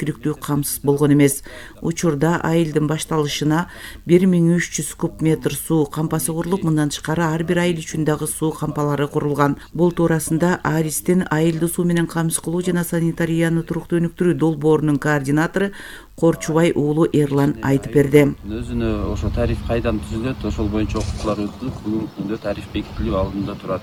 жеткиликтүү камсыз болгон эмес. Учурда айылдын башталышына 1300 куб метр суу кампасы курулуп, мындан тышкары ар бир айыл үчүн дагы суу кампалары курулган. Бул туурасында Аристин айылды суу менен камсыз кылуу жана санитарияны туруктуу өнүктүрүү долбоорунун координатору Корчубай уулу Эрлан айтып берди. Өзүнө ошо тариф кайдан түзүлөт, ошол боюнча окуттуулар өтүлүп, бүгүнкү күндө тариф бекитилүү алдында турат.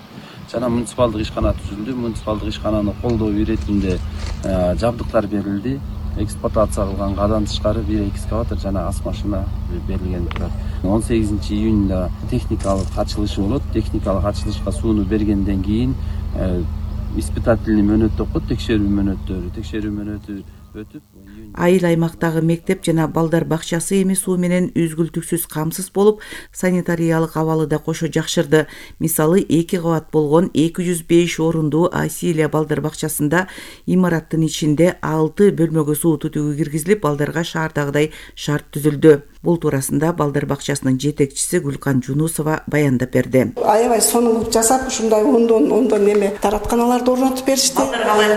Жана муниципалдык ишкана түзүлдү. Муниципалдык ишкананы колдоо иретинде жабдыктар берилди. Эксплуатация кылганга андан тышкары бир экскаватор жана ас машина берилген турат. 18-июнда техникалык ачылышы болот. Техникалык ачылышка сууну бергенден кийин испытательный мөөнөт окут, текшерүү мөөнөтү өтүп, айыл аймактагы мектеп жана балдар бакчасы эми суу менен үзгүлтүксүз камсыз болуп, санитариялык абалы да кошо жакшырды. Мисалы 2 кабат болгон 205 орундуу Асилия балдар бакчасында имараттын ичинде 6 бөлмөгө суу түтүгү киргизилип, балдарга шаардагыдай шарт түзүлдү. Бул туурасында балдар бакчасынын жетекчиси Гүлкан Жунусова баяндап берди. Аябай сонун жасап, ушундай ондон неме таратканаларды орнотуп беришти.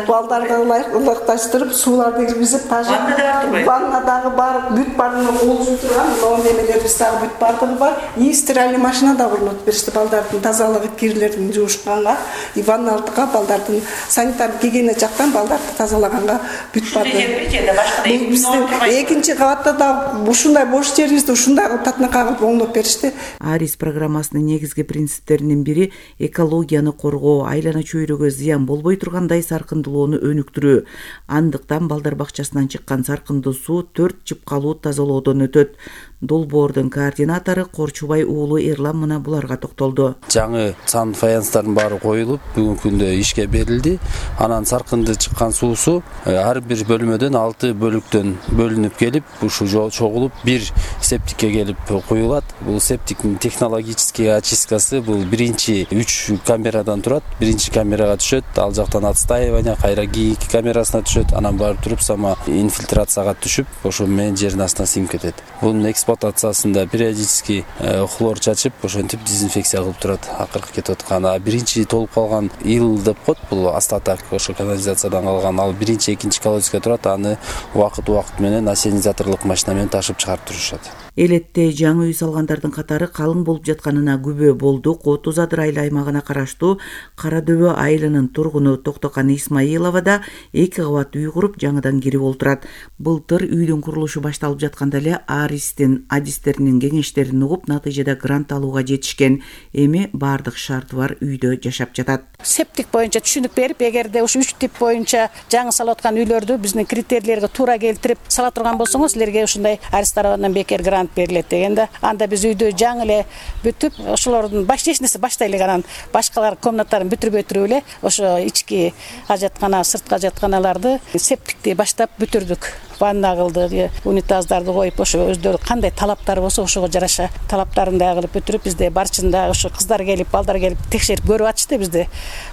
Балдарга ылыкташтырып, сууларды киргизип, ваннадагы бар, бүт бардыгы кол жууп турган, могу немелерибиз дагы бүт бардыгы бар. И стиральный машина да орнотуп беришти балдардын тазалыгы, кирлерин жуушканга, и ванналыкка балдардын санитар гигиена жактан балдарды тазалаганга бүт бардыгы. Биздин экинчи кабатта да ушундай бош жерибизди ушундай татынакка кылып оңдоп беришти. Арис программасынын негизги принциптеринин бири экологияны коргоо, айлана чөйрөгө зыян болбой тургандай саркындылоону өнүктүрүү. Андыктан балдар бакчасынан чыккан саркындуу суу 4 жыпкалуу тазалоодон өтөт. Долбоордун координатору Корчубай уулу Эрлан мына буларга токтолду. Жаңы сан фаянстардын баары коюлуп, бүгүнкү күндө ишке берилди. Анан саркынды чыккан суусу ар бир бөлмөдөн 6 бөлүктөн бөлүнүп келип, ушу чогулуп бир септикке келип куюлат. Бул септиктин технологический очисткасы бул биринчи 3 камерадан турат. Биринчи камерага түшөт, ал жактан отстаивание, кайра ГИК камерасына түшөт, анан барып туруп сама инфильтрацияга түшүп, ошо менен жердин астына сиңип кетет. Бунун эксплуатациясында периодически хлор чачып, ошентип дезинфекция кылып турат, акыркы кетип аткан. Биринчи толуп калган ил деп коет, бул остаток ошо канализациядан калган. Ал биринчи, экинчи колодезге турат, аны убакыт менен ассенизаторлук машина менен ташып чыгарып турушат. Элетте жаңы үй салгандардын катары калың болуп жатканына күбө болду. Кот Узадыр айыл аймагына караштуу Кара Дөбө айылынын тургуну Токтокан Исмаилова да 2 кабат үй куруп, жаңыдан кирип олтурат. Былтыр үйдүн курулушу башталып жатканда эле Аристин адистеринин кеңештерин угуп, натыйжада грант алууга жетишкен. Эми баардык шарты бар үйдө жашап жатат. Септик боюнча түшүнүк берип, эгерде ушу 3 тип боюнча жаңы салып аткан үйлөрдү биздин критерийлерге туура келтирип сала турган болсоңуз, силерге ушундай Арис тарабынан бекер грант берилет дегенде, анда биз үйдү жаңы эле бүтүп, ошолордун эч баштай эле анан башкалар комнаталарын бүтүрбөй туруп эле ошо ички ажаткана, сырткы ажатканаларды септикти баштап бүтүрдүк. Ванна кылды, унитаздарды коюп, ошо өздөрү кандай талаптары болсо ошого жараша талаптарын да кылып бүтүрүп, бизде барчында ошо кыздар келип, балдар келип текшерип көрүп атышты бизде.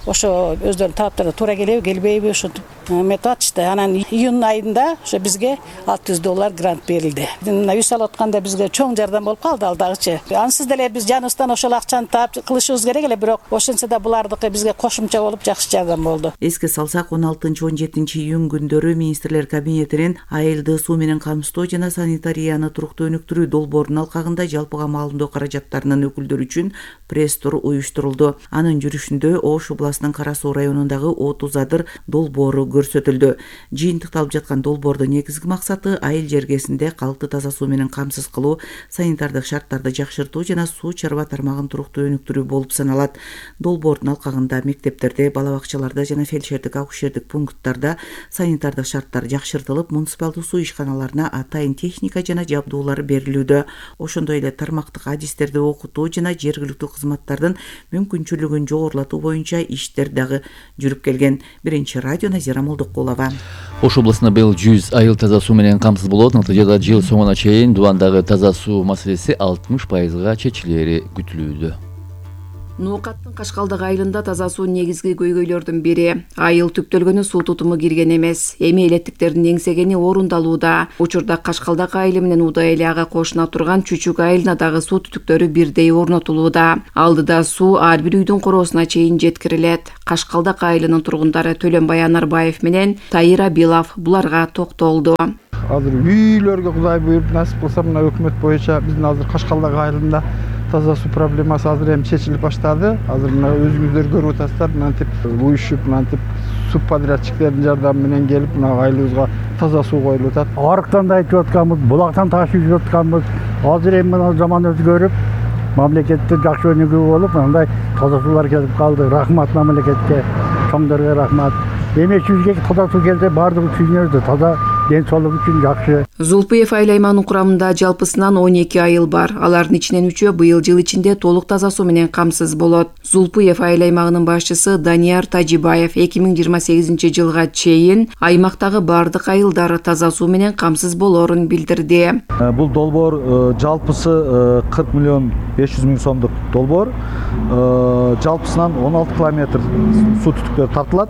Ошо өздөрүнүн талаптары туура келеби, келбейби ошентип эметип атышты. Анан июнь айында ошо бизге $600 грант берилди. Мына үй салып атканда бизге чоң жардам болуп калды ал дагычы. Ансыз деле биз жаныбыздан ошол акчаны таап кылышыбыз керек эле, бирок ошентсе да булардыкы бизге кошумча болуп жакшы жардам болду. Эске салсак, 16-17 июнь күндөрү министрлер кабинетинин айылды суу менен камсыздоо жана санитарияны туруктуу өнүктүрүү долбоорунун алкагында жалпыга маалымдоо каражаттарынын өкүлдөрү үчүн пресс-тур уюштурулду. Анын жүрүшүндө Ош областынын Кара Суу районундагы От Узадыр долбоору көрсөтүлдү. Жыйынтыкталып жаткан долбоордун негизги максаты айыл жергесинде калкты таза суу менен камсыз кылуу, санитардык шарттарды жакшыртуу жана суу чарба тармагын туруктуу өнүктүрүү болуп саналат. Долбоордун алкагында мектептерде, бала бакчаларда жана фельдшердик акушердик пункттарда санитардык шарттар жакшыртылып, муниципалдык суу ишканаларына атайын техника жана жабдуулар берилүүдө. Ошондой эле тармактык адистерди окутуу жана жергиликтүү кызматтардын мүмкүнчүлүгүн жогорулатуу боюнча иштер дагы жүрүп келген. Биринчи радио Назира Молдокулова. Ош областында быйыл 100 айыл таза суу менен камсыз болот. Натыйжада жыл соңуна чейин Дубандагы таза суу маселеси 60% чечилери күтүлүүдө. Нуукаттын Кашкалдык айылында таза суу негизги көйгөйлөрдүн бири. Айыл түптөлгөнү суу тутуму кирген эмес. Эми элеттиктердин эңсегени орундалууда. Учурда Кашкалдык айылы менен Удай эле ага кошуна турган Чүчүк айылына дагы суу түтүктөрү бирдей орнотулууда. Алдыда суу ар бир үйдүн короосуна чейин жеткирилет. Кашкалдык айылынын тургундары Төлөнбай Анарбаев менен Таира Билав буларга токтолду. Азыр үйлөргө Кудай буйруп насип кылса, мына өкмөт боюнча биздин азыр Кашкалдык айылында таза суу проблемасы азыр эми чечилип баштады. Азыр мына өзүңүздөр көрүп атасыздар, мынтип уюшуп, мынтип субподрядчиктердин жардамы менен келип, мына айылыбызга таза суу коюлуп атат. Арыктан да айтып атканбыз, булактан ташып жүрүп атканбыз. Азыр эми мына заман өзгөрүп, мамлекетте жакшы өнүгүү болуп, мындай таза суулар келип калды. Рахмат мамлекетке, чоңдорго рахмат. Эми чүзгө таза суу келсе баардыгы түшүнөбүз, таза ден соолук үчүн жакшы. Зулпуев айыл аймагынын курамында жалпысынан 12 айыл бар. Алардын ичинен 3-өө быйыл жыл ичинде толук таза суу менен камсыз болот. Зулпуев айыл аймагынын башчысы Данияр Тажибаев 2028 жылга чейин аймактагы бардык айылдар таза суу менен камсыз болоорун билдирди. Бул долбоор жалпысы 40 миллион 500 миң сомдук долбоор. Жалпысынан 16 километр суу түтүктөр тартылат.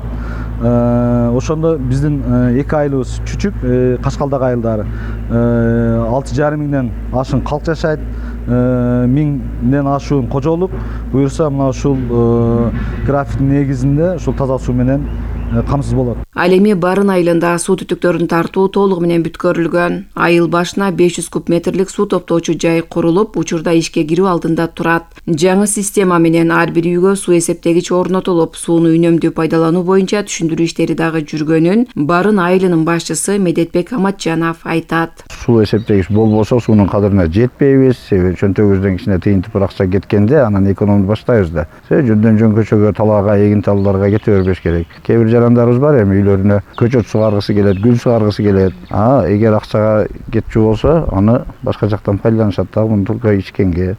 Ошондо биздин эки айылыбыз Чүчүк, Кашкалдык айылдары 6,5 миңден ашык калк жашайт, 1000ден ашуун кожолук. Буюрса мына ушул графиктин негизинде ушул таза суу менен камсыз болот. Ал эми Барын айылында суу түтүктөрүн тартуу толугу менен бүткөрүлгөн. Айыл башына 500 куб метрлик суу топтоочу жай курулуп, учурда ишке кирүү алдында турат. Жаңы система менен ар бир үйгө суу эсептегич орнотулуп, сууну үнөмдүү пайдалануу боюнча түшүндүрүү иштери дагы жүргөнүн Барын айылынын башчысы Медетбек Аматжанов айтат. Суу эсептегич болбосо суунун кадырына жетпейбиз. Себеби чөнтөгүбүздөн кичине тыйынтып бир акча кеткенде анан экономду баштайбыз да. Жөндөн жөн көчөгө, талаага, эгин талууларга кете бербеш керек. Кээ бир жарандарыбыз бар, эми үйлөрүнө көчөт сугаргысы келет, гүл сугаргысы келет. Эгер акчага кетчү болсо, аны башка жактан пайдаланышат да, муну только ичкенге.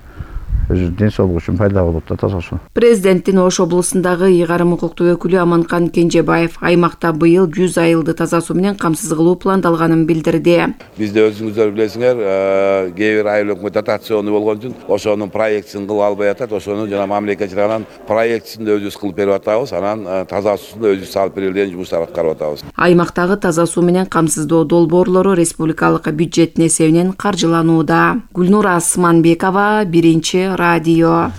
Өзү ден соолугу үчүн пайда болот да таза суу. Президенттин Ош облусундагы ыйгарым укуктуу өкүлү Аманкан Кенжебаев аймакта быйыл 100 айылды таза суу менен камсыз кылуу пландалганын билдирди. Бизде өзүңүздөр билесиңер, кээ бир айыл өкмөт дотацион болгон үчүн ошонун проектисин кыла албай атат. Ошону жана мамлекет тарабынан проектисин да өзүбүз кылып берип атабыз. Анан таза суусун да өзүбүз салып берилген жумуштар аткарып атабыз. Аймактагы таза суу менен камсыздоо долбоорлору республикалык бюджеттин эсебинен каржыланууда. Гүлнур Асманбекова, Биринчи радио.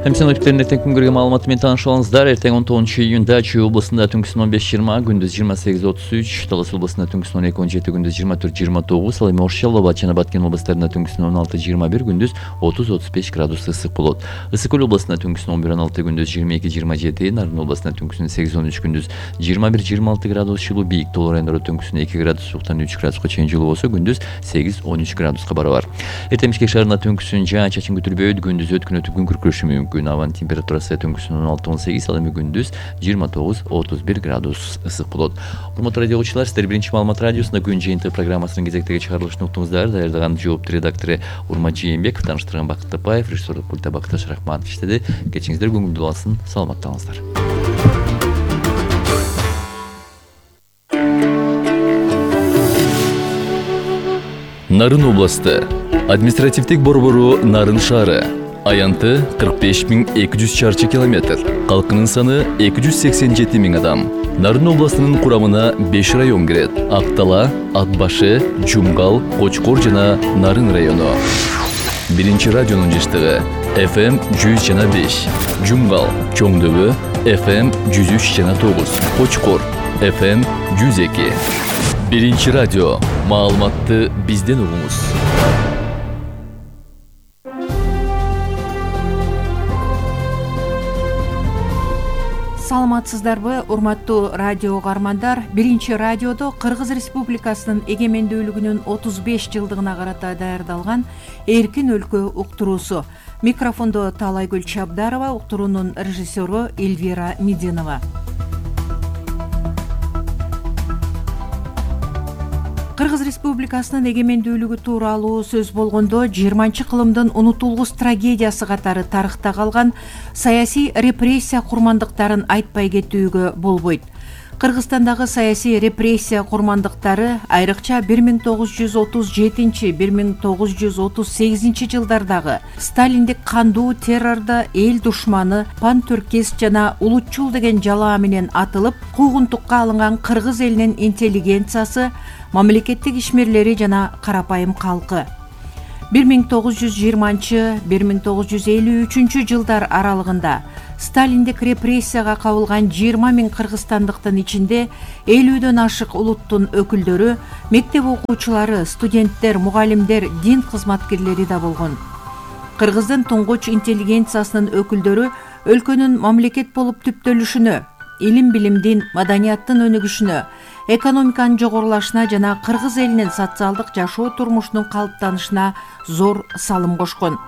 Синоптиктердин эртең күнгөргө маалыматы менен тааныша алыңыздар. Эртең 19 июнда Чүй областында түнкүсүн 15-20, күндүз 28-33, Талас областында түнкүсүн 12-17, күндүз 24-29, ал эми Ош, Жалал-Абад жана Баткен областарында түнкүсүн 16-21, күндүз 30-35 градус ысык болот. Ысык көл областында түнкүсүн 11-16, күндүз 22-27, Нарын областында түнкүсүн 8-13, күндүз 21-26 градус жылуу, Бийик Тоол райондору түнкүсүн 2 градус сууктан 3 градуска чейин жылуу болсо, күндүз 8-13 градуска барабар. Эртең Бишкек шаарында түнкүсүн жаан-чачын күтүлбөйт, күндүз өткөн күн күркүрөшү мүмкүн. Абанын температурасы түнкүсүн 16-18, ал эми күндүз 29-31 градус ысык болот. Урматтуу радио угуучулар, сиздер Биринчи маалымат радиосунда күн жыйынтыгы программасынын кезектеги чыгарылышын уктуңуздар. Даярдаган жооптуу редактору Урмат Жээнбеков, тааныштырган Бакыт Тапаев, режиссерлук пультта Бакташ Рахманов иштеди. Кечиңиздер көңүлдүү болсын, саламатта калыңыздар. Нарын областы административдик борбору Нарын шаары. Аянты 45.200 чарчы километр. Калкынын саны 287 000 адам. Нарын областынын курамына 5 район кирет. Актала, Атбашы, Жумгал, Кочкор жана Нарын району. Биринчи радионун жыштыгы FM 100,5, Жумгал, Чоңдөбө FM 103,9, Кочкор FM 102. Биринчи радио. Маалыматты бизден угуңуз. Саламатсыздарбы, урматтуу радио угармандар? Биринчи радиодо Кыргыз Республикасынын эгемендүүлүгүнүн 35 жылдыгына карата даярдалган Эркин өлкө уктуруусу. Микрофондо Таалайгүл Чабдарова, уктуруунун режиссеру Эльвира Мединова. Кыргыз Республикасынын эгемендүүлүгү тууралуу сөз болгондо 20-кылымдын унутулгус трагедиясы катары тарыхта калган саясий репрессия курмандыктарын айтпай кетүүгө болбойт. Кыргызстандагы саясий репрессия курмандыктары айрыкча 1937-1938 жылдардагы сталиндик кандуу террорду эл душманы, пантүркист жана улутчул деген жалаа менен атылып, куугунтукка алынган кыргыз элинин интеллигенциясы, мамлекеттик ишмерлери жана карапайым калкы 1920-1953 жылдар аралыгында сталиндик репрессияга кабылган 20 000 кыргызстандыктын ичинде 50дөн ашык улуттун өкүлдөрү, мектеп окуучулары, студенттер, мугалимдер, дин кызматкерлери да болгон. Кыргыздын туңгуч интеллигенциясынын өкүлдөрү өлкөнүн мамлекет болуп түптөлүшүнө, илим-билимдин, маданияттын өнүгүшүнө, экономиканын жогорулашына жана кыргыз элинин социалдык жашоо турмушунун калыптанышына зор салым кошкон.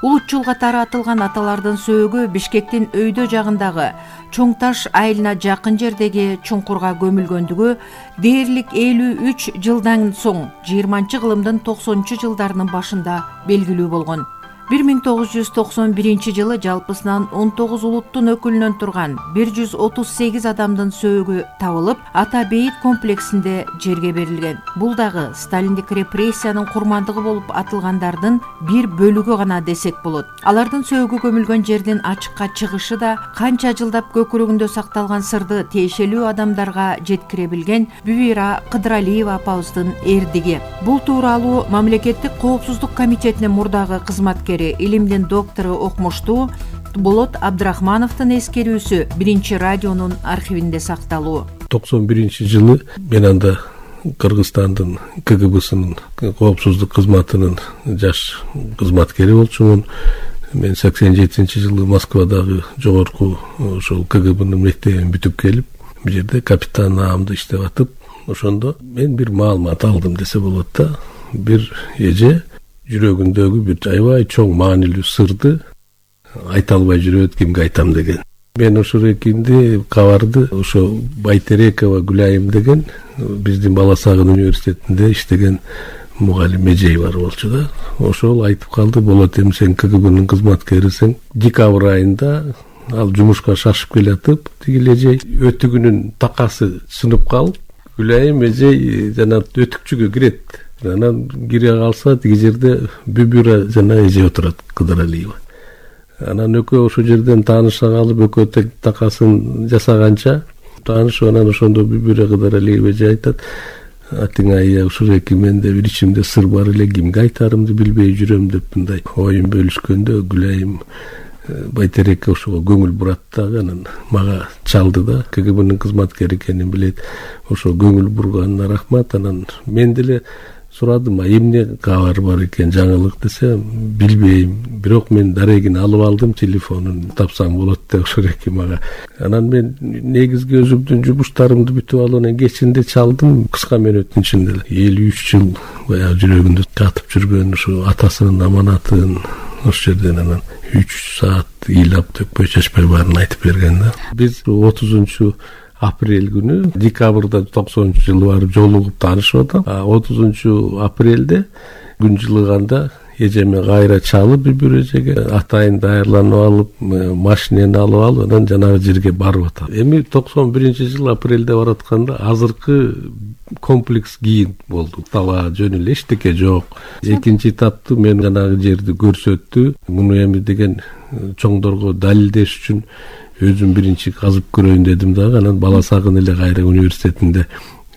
Улутчул катары атылган аталардын сөөгү Бишкектин өйдө жагындагы Чоң Таш айылына жакын жердеги чуңкурга көмүлгөндүгү дээрлик 53 жылдан соң 20-кылымдын 90 жылдарынын башында белгилүү болгон. 1991 жылы жалпысынан 19 улуттун өкүлүнөн турган 138 адамдын сөөгү табылып, Ата бейит комплексинде жерге берилген. Бул дагы сталиндик репрессиянын курмандыгы болуп атылгандардын бир бөлүгү гана десек болот. Алардын сөөгү көмүлгөн жердин ачыкка чыгышы да канча жылдап көкүрөгүндө сакталган сырды тиешелүү адамдарга жеткире билген Бүбира Кыдыралиева апабыздын эрдиги. Бул тууралуу Мамлекеттик коопсуздук комитетинин мурдагы кызматкери, илимдин доктору окумуштуу Болот Абдрахмановдун эскерүүсү Биринчи радионун архивинде сакталуу. 91 жылы мен анда Кыргызстандын КГБсынын коопсуздук кызматынын жаш кызматкери болчумун. Мен 87 жылы Москвадагы жогорку ошол КГБнын мектебин бүтүп келип, бул жерде капитан наамда иштеп атып, ошондо мен бир маалымат алдым десе болот да. Бир эже жүрөгүндөгү бир аябай чоң маанилүү сырды айта албай жүрөт, кимге айтам деген. Мен ошол экинди кабарды ошо Байтерекова Гүлайым деген биздин Бала Сагын университетинде иштеген мугалим эжей бар болчу да. Ошол айтып калды, болот эми сен КГБнын кызматкерисиң. Декабрь айында ал жумушка шашып келатып, тиги эжей өтүгүнүн такасы сынып калып, Гүлайым эжей жана өтүкчүгө кирет. Анан кире калса, тиги жерде Бүбүра жана эже отурат, Кыдыралиева. Анан экөө ошол жерден тааныша калып, экөө такасын жасаганча таанышып, анан ошондо Бүбүра Кыдыралиева эже айтат: "Атыңай, ушул эки менде бир ичимде сыр бар эле, кимге айтарымды билбей жүрөм" деп мындай оюн бөлүшкөндө Гүлайым Байтерекке ошого көңүл бурат дагы, анан мага чалды да, КГБнын кызматкери экенин билет. Ошо көңүл бурганына рахмат. Анан мен деле сурадым, эмне кабар бар экен, жаңылык десе, билбейм. Бирок мен дарегин алып алдым, телефонун тапсаң болот деп ошол эки мага. Анан мен негизги өзүмдүн жумуштарымды бүтүп алып, анан кечинде чалдым, кыска мөөнөттүн ичинде 53 жыл баягы жүрөгүндө катып жүргөн ошо атасынын аманатын ошол жерден анан 3 саат ыйлап төкпөй чачпай баарын айтып берген да. Биз 30 апрель күнү, декабрда 90 жылы барып жолугуп таанышып атам. 30 апрелде күн жылыганда эжеме кайра чалып, бир эжеге атайын даярланып алып, машинени алып алып, анан жанагы жерге барып атам. Эми 91 жыл апрелде баратканда азыркы комплекс кийин болду. Таба жөн эле эчтеке жок. Экинчи этапты мен жанагы жерди көрсөттү. Муну эми деген чоңдорго далилдеш үчүн өзүм биринчи казып көрөйүн дедим дагы. Анан Бала Сагын эле кайра университетинде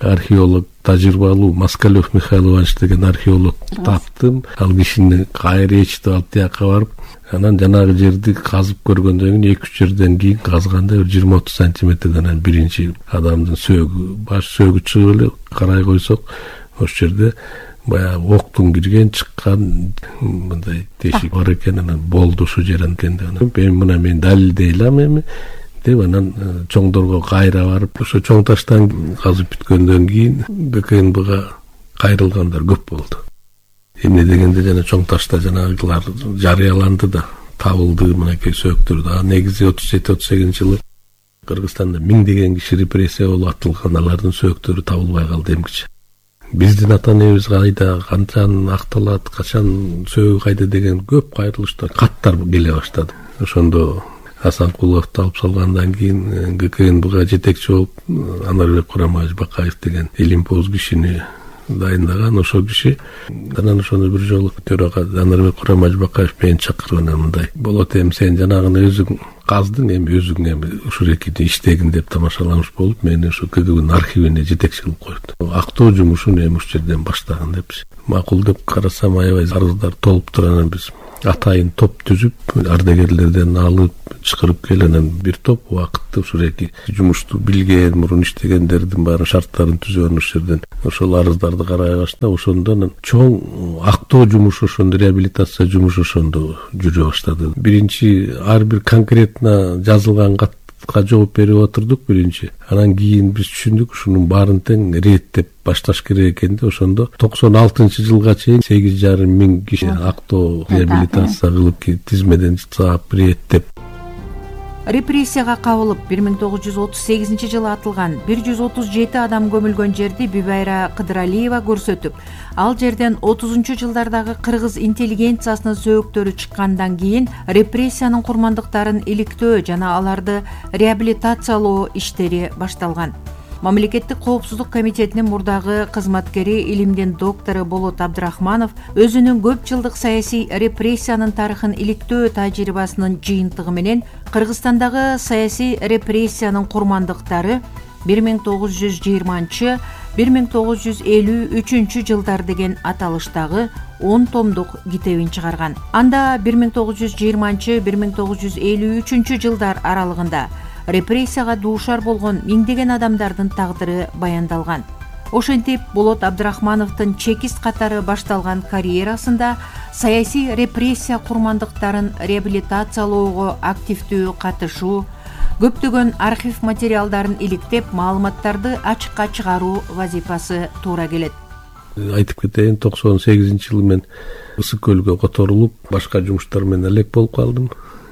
археолог, тажрыйбалуу Москалев Михаил Иванович деген археолог таптым. Ал кишини кайра ичти алып тияка барып, анан жанагы жерди казып көргөндөн кийин 2-3 жерден кийин казганда 20-30 сантиметрден анан биринчи адамдын сөөгү, баш сөөгү чыгып эле карай койсок, ошол жерде баягы октун кирген чыккан мындай тешик бар экен. Анан болду ошол жер экен деп. Мына мен далилдей алам эми деп, анан чоңдорго кайра барып, ошо Чоң Таштан казып бүткөндөн кийин ГКНБга кайрылгандар көп болду. Эмне дегенде жана Чоң Ташта жанагылар жарыяланды да, табылды мынакей сөөктөр да. Негизи 37-38 жылы Кыргызстанда миңдеген киши репрессия болуп атылган, алардын сөөктөрү табылбай калды эмгиче. Биздин ата-энебиз кайда, канчан акталат, качан сөөгү кайда деген көп кайрылыштар, каттар келе баштады. Ошондо Асанкуловду алып салгандан кийин ГКНБга жетекчи болуп Анарбек Курамаевич Бакаев деген илимпоз кишини дайындаган. Ошол киши анан ошону бир жолу төрага Анарбек Курамаевич Бакаев мени чакырып анан мындай: болот, эми сен жанагыны өзүң каздың, эми өзүң эми ушул экиди иштегин деп тамашаламыш болуп, мени ушу КГБнын архивине жетекчи кылып койду. Актоо жумушун эми ушул жерден баштаган депчи. Макул деп карасам, аябай арыздар толуптур. Анан биз атайын топ түзүп, ардагерлерден алып чакырып келип, анан бир топ убакытты ушул эки жумушту билген, мурун иштегендердин баарын шарттарын түзүп, анан ушул жерден ошол арыздарды карай баштап, ошондо анан чоң актоо жумушу, ошондо реабилитация жумушу ошондо жүрө баштады. Биринчи ар бир конкретно жазылган катка жооп берип отурдук биринчи. Анан кийин биз түшүндүк ушунун баарын тең реттеп башташ керек экен да. Ошондо 96-жылга чейин 8,5 миң киши актоо реабилитация кылып, тизмеден саап реттеп. Репрессияга кабылып 1938 жылы атылган 137 адам көмүлгөн жерди Бибайра Кыдыралиева көрсөтүп, ал жерден 30-жылдардагы кыргыз интеллигенциясынын сөөктөрү чыккандан кийин репрессиянын курмандыктарын иликтөө жана аларды реабилитациялоо иштери башталган. Мамлекеттик коопсуздук комитетинин мурдагы кызматкери, илимдин доктору Болот Абдрахманов өзүнүн көп жылдык саясий репрессиянын тарыхын иликтөө тажрыйбасынын жыйынтыгы менен Кыргызстандагы саясий репрессиянын курмандыктары 1920-1953 жылдар деген аталыштагы 10 томдук китебин чыгарган. Анда 1920-1953 жылдар аралыгында репрессияга дуушар болгон миңдеген адамдардын тагдыры баяндалган. Ошентип, Болот Абдрахмановдун чекист катары башталган карьерасында саясий репрессия курмандыктарын реабилитациялоого активдүү катышуу, көптөгөн архив материалдарын иликтеп, маалыматтарды ачыкка чыгаруу вазифасы туура келет. Айтып кетейин, 98-жылы мен Ысык көлгө которулуп, башка жумуштар менен элек болуп калдым.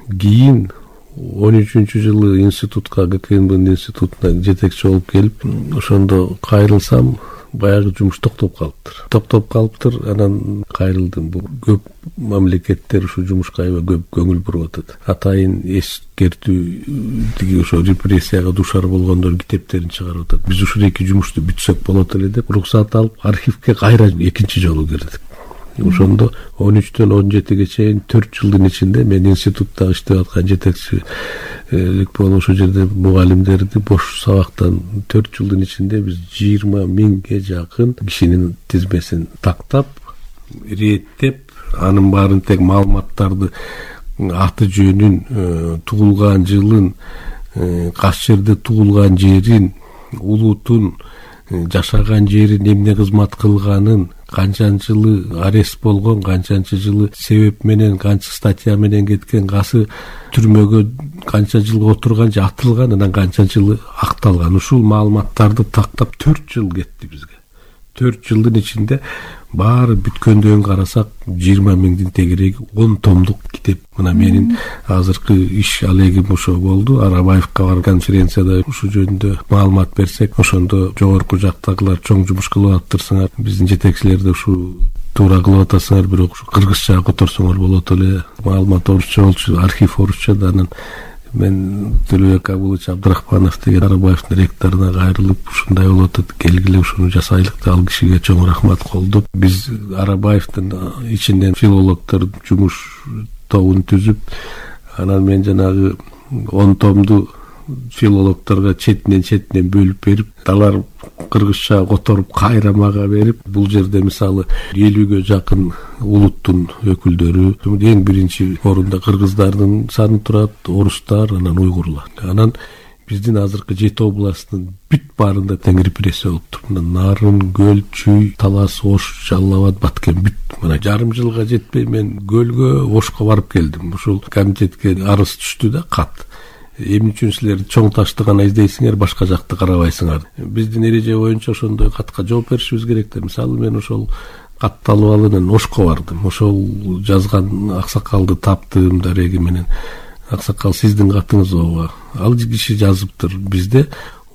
Кийин 13-жылы институтка, ГКНБнын институтуна жетекчи болуп келип, ошондо кайрылсам, баягы жумуш токтоп калыптыр. Анан кайрылдым. Бул көп мамлекеттер ушу жумушка аябай көп көңүл буруп атат. Атайын эскертүү, ошо репрессияга дуушар болгондор китептерин чыгарып атат. Биз ушул эки жумушту бүтсөк болот эле деп уруксат алып, архивге кайра экинчи жолу кирдик. Ошондо 13-төн 17-ге чейин 4 жылдын ичинде мен институтта иштеп аткан жетекчилик болуп, ошол жерде мугалимдерди бош сабактан 4 жылдын ичинде биз 20 миңге жакын кишинин тизмесин тактап, реттеп, анын баарын тең маалыматтарды, аты жөнүн, туулган жылын, кайсы жерде туулган жерин, улутун, жашаган жерин, эмне кызмат кылганын, канчанчы жылы арест болгон, канчанчы жылы себеп менен, канча статья менен кеткен, кайсы түрмөгө канча жыл отурган же атылган, анан канчанчы жылы акталган. Ушул маалыматтарды тактап 4 жыл кетти бизге. 4 жылдын ичинде баары бүткөндөн карасак 20 миңдин тегереги 10 томдук китеп. Мына менин азыркы иш алегим ошо болду. Арабаевка бар конференцияда ушул жөнүндө маалымат берсек, ошондо жогорку жактагылар чоң жумуш кылып атыптырсыңар, биздин жетекчилерди ушу туура кылып атасыңар, бирок ушу кыргызча которсоңор болот эле. Маалымат орусча болчу, архив орусча да. Анан мен Төлөбек Абулович Абдрахманов деген Арабаевдин ректоруна кайрылып, ушундай болуп атат, келгиле ушуну жасайлык деп, ал кишиге чоң рахмат колдоп, биз Арабаевдин ичинен филологдор жумуш тобун түзүп, анан мен жанагы 10 томду филологдорго четинен бөлүп берип, алар кыргызча которуп кайра мага берип, бул жерде мисалы 50ге жакын улуттун өкүлдөрү, эң биринчи орунда кыргыздардын саны турат, орустар, анан уйгурлар. Анан биздин азыркы 7 областтын бүт баарында тең репрессия болуптур. Нарын, Көл, Чүй, Талас, Ош, Жалал Абад, Баткен бүт. Мына жарым жылга жетпей мен Көлгө, Ошко барып келдим. Ушул комитетке арыз түштү да, кат. Эмне үчүн силер чоң ташты гана издейсиңер, башка жакты карабайсыңар. Биздин эреже боюнча ошондой катка жооп беришибиз керек да. Мисалы мен ошол катты алып алып анан Ошко бардым. Ошол жазган аксакалды таптым дареги менен. Аксакал, сиздин катыңыз ооба. Ал киши жазыптыр. Бизде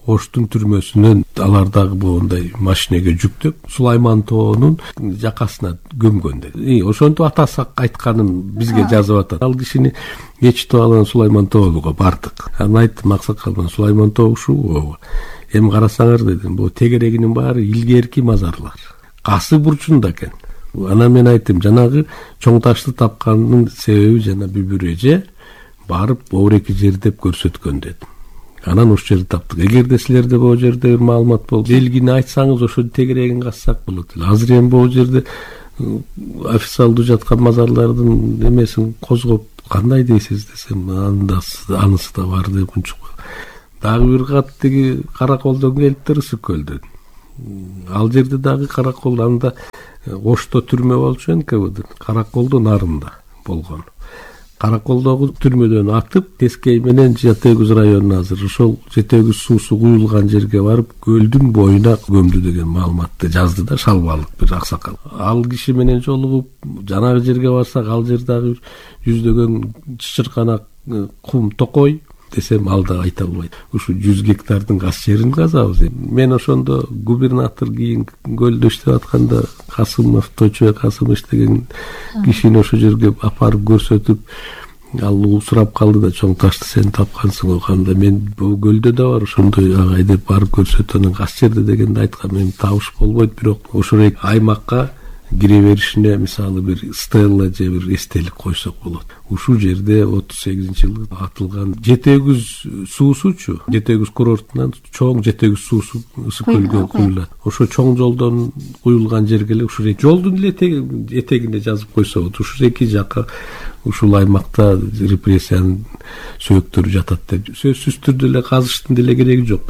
Оштун түрмөсүнөн алар дагы моундай машинеге жүктөп Сулайман тоонун жакасына көмгөн деди. Ошентип атасы айтканын бизге жазып атат. Ал кишини ечитип алган Сулайман тоого бардык. Анан айттым аксакал, Сулайман тоо ушул. Эми карасаңар дедим, бул тегерегинин баары илгерки мазарлар. Касы бурчунда экен. Анан мен айттым, жанагы чоң ташты тапкандын себеби жана бүбүр эже барып оореки жердеп көрсөткөн дедим. Анан ошол жерди таптык. Эгерде силерде бул жерде бир маалымат болсо, белгини айтсаңыз ошол тегерегин казсак болот. Азыр эми бул жерде официалдуу жаткан мазарлардын эмесин козгоп кандай дейсиз десем, анысы да бар деп унчук. Дагы бир кат тиги Караколдон келип Ысыккөл деди. Ал жерде дагы Каракол, анда Ошто түрмө болчу НКВД, Караколдун нарында болгон. Караколдогу түрмөдөн атып, Тескей менен Жетегүз районуна азыр ошол Жетегүз суусу куюлган жерге барып, көлдүн боюна көмдү деген маалыматты жазды да Шалбалык бир аксакал. Ал киши менен жолугуп, жанагы жерге барсак, ал жердагы жүздөгөн чычырканак кум токой десем, ал да айта албайт. Ушу 100 гектардын газ жерин казабыз. Мен ошондо губернатор кийин көлдө иштеп атканда Касымов, Точо Касымов деген кишини ошол жерге апарып көрсөтүп, ал сурап калды да, чоң ташты сен тапкансың го, кандай мен бул көлдө да бар ошондой агай деп барып көрсөтүп, анан газ жерде дегенде айткам, мен табыш болбойт, бирок ошол аймакка кире беришине мисалы бир стелла же бир эстелик койсок болот. Ушул жерде 38-жылы атылган Жетегүз суусучу, Жетегүз курортунан чоң Жетегүз суусу Ысыккөлгө куюлат. Ошо чоң жолдон куюлган жерге эле ушул жолдун эле этегине жазып койсо болот. Ушул эки жакка ушул аймакта репрессиянын сөөктөрү жатат деп сөзсүз түрдө эле казыштын деле кереги жок.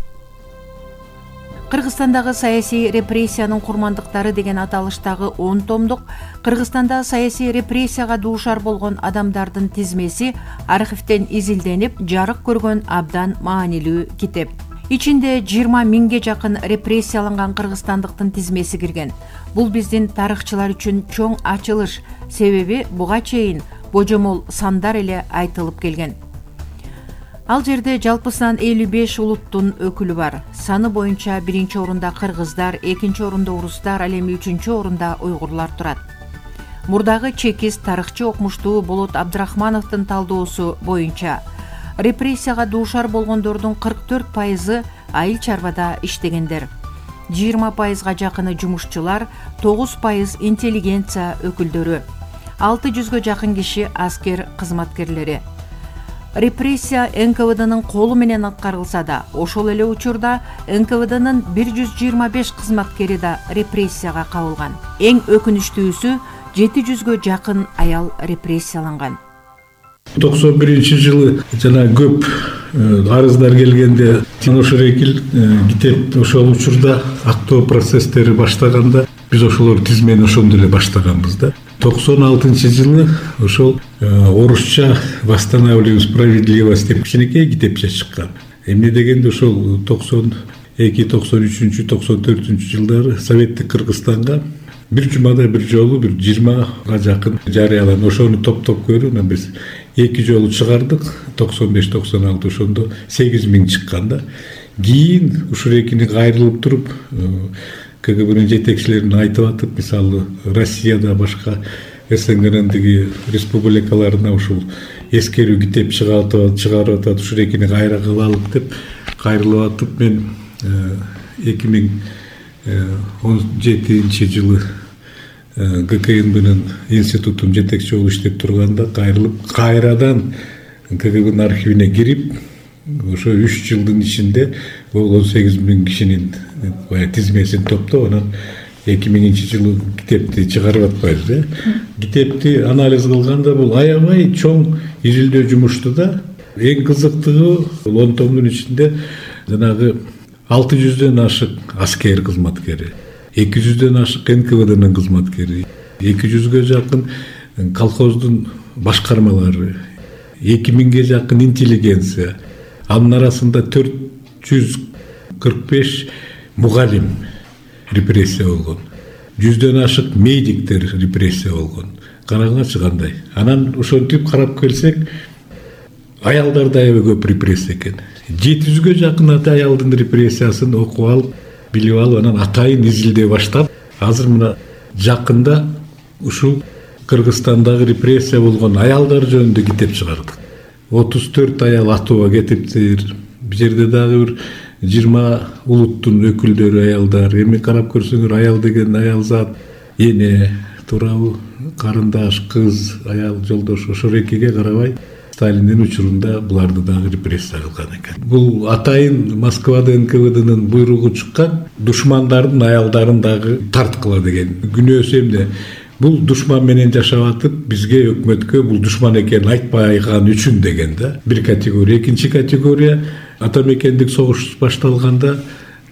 Кыргызстандагы саясий репрессиянын курмандыктары деген аталыштагы 10 томдук Кыргызстанда саясий репрессияга дуушар болгон адамдардын тизмеси архивден изилденип, жарык көргөн абдан маанилүү китеп. Ичинде 20 миңге жакын репрессияланган кыргызстандыктын тизмеси кирген. Бул биздин тарыхчылар үчүн чоң ачылыш, себеби буга чейин божомол сандар эле айтылып келген. Ал жерде жалпысынан 55 улуттун өкүлү бар. Саны боюнча 1-чи орунда кыргыздар, 2-чи орунда орустар, ал эми 3-чү орунда уйгурлар турат. Мурдагы чекист тарыхчы окумуштуу Болот Абдрахмановдун талдоосу боюнча репрессияга дуушар болгондордун 44% айыл чарбада иштегендер. 20%га жакыны жумушчулар, 9% интеллигенция өкүлдөрү, 600гө жакын киши аскер кызматкерлери. Репрессия НКВДнын колу менен аткарылса да, ошол эле учурда НКВДнын 125 кызматкери да репрессияга кабылган. Эң өкүнүчтүүсү 700гө жакын аял репрессияланган. 91-жылы жана көп арыздар келгенде ошол экил китеп ошол учурда актоо процесстери баштаганда биз ошолор тизмени ошондо эле баштаганбыз да. 96-жылы ошол орусча «Восстанавливаем справедливость» деп кичинекей китепче чыккан. Эмне дегенде ошол 92, 93, 94 жылдары Советтик Кыргызстанга бир жумада бир жолу бир 20га жакын жарыяланып, ошону топтоп көрүп, анан биз 2 жолу чыгардык. 95-96 ошондо 8000 чыккан да. Кийин ушул экини кайрылып туруп КГБнын жетекчилерин айтып атып, мисалы Россияда башка СНГнын республикаларына ушул эскерүү китеп чыгарып атат, ушул экини кайра кылалык деп кайрылып атып, мен 2017 жылы ГКНБнын институтун жетекчи болуп иштеп турганда кайрылып, кайрадан КГБнын архивине кирип, ошо 3 жылдын ичинде бул 18.000 кишинин тизмесин топтоп, анан 2000-жылы китепти чыгарып атпайбыз. Китепти анализ кылганда бул аябай чоң изилдөө жумушту да. Эң кызыктыгы бул 10 томдун ичинде жанагы 600дөн ашык аскер кызматкери, 200дөн ашык НКВДнын кызматкери, 200гө жакын колхоздун башкармалары, 2000ге жакын интеллигенция, анын арасында 445 мугалим репрессия болгон, 100дөн ашык медиктер репрессия болгон. Караңачы кандай. Анан ошентип карап келсек, аялдар да аябай көп репрессия экен. 700-гө жакын аялдын репрессиясын окуп алып, билип алып, анан атайын изилдей баштап, азыр мына жакында ушул Кыргызстандагы репрессия болгон аялдар жөнүндө китеп чыгардык. 34 аял атууга кетиптир. Бул жерде дагы бир 20 улуттун өкүлдөрү аялдар. Эми карап көрсөңөр, аял деген аял зат, эне, туурабы, карындаш, кыз, аял, жолдош, ошо экиге карабай Сталиндин учурунда буларды дагы репрессия кылган экен. Бул атайын Москвада НКВДнын буйругу чыккан, душмандардын аялдарын дагы тарткыла деген. Күнөөсү эмне? Бул душман менен жашап атып, бизге өкмөткө бул душман экенин айтпайган үчүн деген да. Бир категория. Экинчи категория, ата мекендик согуш башталганда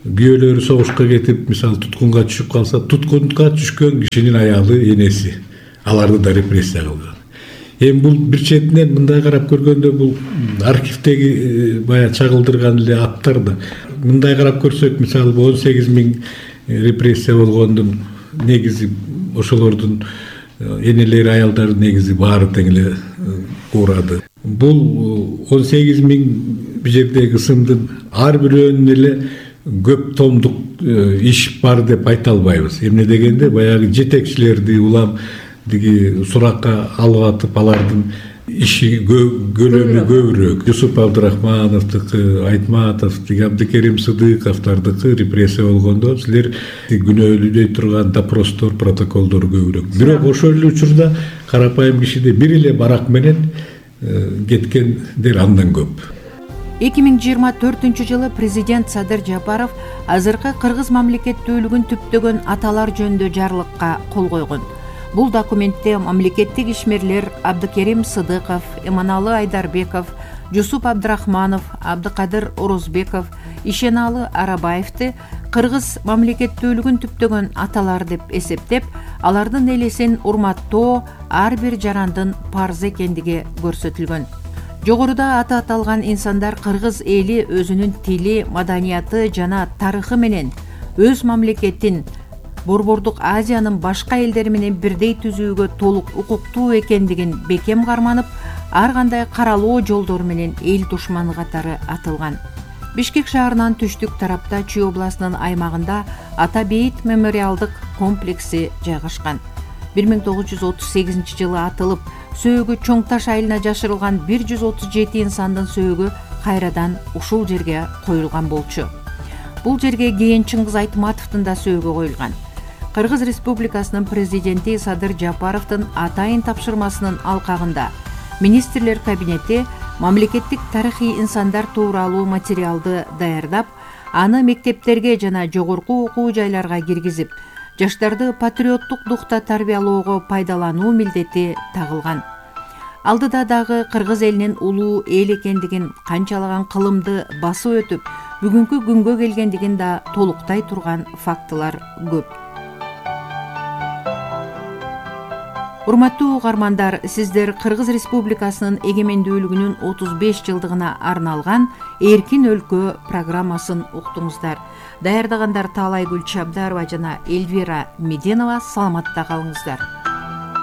күйөөлөрү согушка кетип, мисалы туткунга түшүп калса, туткунга түшкөн кишинин аялы, энеси, аларды да репрессия кылган. Эми бул бир четинен мындай карап көргөндө бул архивдеги бая чагылдырган эле аттар да. Мындай карап көрсөк, мисалы 18.000 репрессия болгондун негизи ошолордун энелери, аялдары негизи баары тең эле уурады. Бул 18.000 бул жердеги ысымдын ар бирөөнүн эле көп томдук иш бар деп айта албайбыз. Эмне дегенде, баягы жетекчилерди улам диги суракка алып атып, алардын иши көлөмү көбүрөөк. Жусуп Абдрахмановдуку, Айтматовдуку, Абдыкерим Сыдыковдардыкы репрессия болгондо силер күнөөлөй турган допростор, протоколдор көбүрөөк. Бирок ошол эле учурда карапайым кишиде бир эле барак менен кеткендер андан көп. 2024-жылы президент Садыр Жапаров азыркы Кыргыз мамлекеттүүлүгүн түптөгөн аталар жөнүндө жарлыкка кол койгон. Бул документте мамлекеттик ишмерлер Абдыкерим Сыдыков, Эманалы Айдарбеков, Жусуп Абдрахманов, Абдыкадыр Орозбеков, Ишеналы Арабаевди Кыргыз мамлекеттүүлүгүн түптөгөн аталар деп эсептеп, алардын элесин урматтоо ар бир жарандын парзы экендиги көрсөтүлгөн. Жогоруда аты аталган инсандар кыргыз эли өзүнүн тили, маданияты жана тарыхы менен өз мамлекетин Борбордук Азиянын башка элдери менен бирдей түзүүгө толук укуктуу экендигин бекем карманып, ар кандай каралоо жолдору менен эл душманы катары атылган. Бишкек шаарынан түштүк тарапта Чүй областынын аймагында Ата Бейит мемориалдык комплекси жайгашкан. 1938 жылы атылып, сөөгү Чоң Таш айылына жашырылган 137 инсандын сөөгү кайрадан ушул жерге коюлган болчу. Бул жерге кийин Чыңгыз Айтматовдун да сөөгү коюлган. Кыргыз Республикасынын президенти Садыр Жапаровдун атайын тапшырмасынын алкагында министрлер кабинети мамлекеттик тарыхый инсандар тууралуу материалды даярдап, аны мектептерге жана жогорку окуу жайларга киргизип, жаштарды патриоттук духта тарбиялоого пайдалануу милдети тагылган. Алдыда дагы кыргыз элинин улуу эл экендигин, канчалаган кылымды басып өтүп, бүгүнкү күнгө келгендигин да толуктай турган фактылар көп. Урматтуу угармандар, сиздер Кыргыз Республикасынын эгемендүүлүгүнүн 35 жылдыгына арналган Эркин өлкө программасын уктуңуздар. Даярдагандар Таалайгүл Чабдарова жана Эльвира Меденова. Саламатта калыңыздар.